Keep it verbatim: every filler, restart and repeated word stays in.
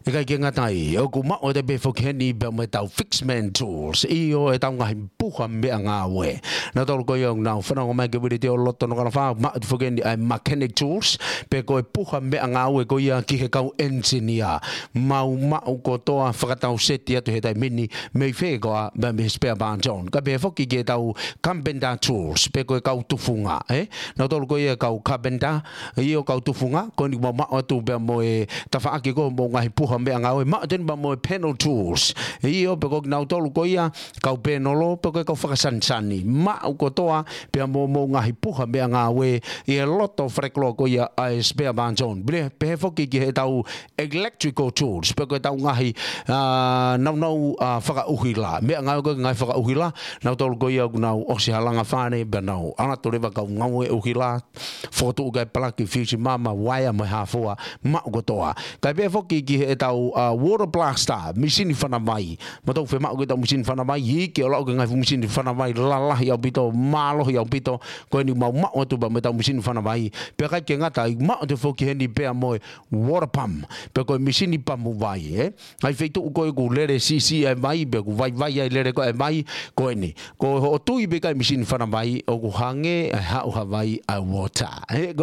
ʻIkai ke ngata ai, ʻoku maʻu atu pē foki heni pea mo ʻetau Fixman Tools. ʻIo, ʻetau ngaahi puha meʻangāue. Nautolu ko ia ʻoku nau fanongo mai ki he Vili Teo Loto Nukuʻalofa, maʻu atu foki heni ʻa e Mechanic Tools, pe ko e puha meʻangāue ko ia ki he kau engineer. Mau maʻu kotoa, fakatau seti atu he taimi ni, mei fē koā, mei he spare parts on. Kae pehē foki ki heʻetau Carpenter Tools, pe ko e kau tufunga, ē? Nautolu ko ia kau carpenter, ʻio kau tufunga, ko eni mau maʻu atu pea mo e tafaʻaki ko ē hoʻomou ngaahi puha meʻangāue, maʻu atu eni pea mo e panel tools. ʻIo pe ko kinautolu ko ia, kau pēnolo, pe ko e kau fakasanisani. Maʻu kotoa, pea mo hoʻomou ngaahi puha meʻangāue, ʻi he loto falekoloa ko ia ʻa e spare parts on. Pea pehē foki ki heʻetau electrical tools, pe ko ʻetau ngaahi, ā, naunau, ā, fakaʻuhila. Meʻangāue ko ē ngaahi fakaʻuhila, nautolu ko ia ʻoku nau ʻosi halanga fale, pea nau ʻalu atu leva kau ngāue ʻuhila, fokotuʻu ki ai palaki, fiusi mama, uaea mo e hā fua, maʻu kotoa. Kae pehē foki ki heʻetau, ā, water blaster, misini fana vai. Mautolu fiemaʻu ki heʻetau misini fana vai, iiki ʻo aʻu ki he ngaahi fuʻu misini fana vai, lalahi ʻaupito, mālohi ʻaupito, ko eni mau maʻu atu pea mo ʻetau misini fana vai, pea ʻikai ke ngata ai, maʻu atu foki heni pea mo e water pump, pe ko e misini pamu vai, ē? ʻI he feituʻu ko ē ʻoku lele siʻisiʻi ai e vai, pe ʻoku vaivai ai e lele ko ē e vai, ko eni. Ko hoʻo tui pē ki he misini fana vai, ʻoku hangē ʻa e haʻu ha vai ʻa e water. Ē, ko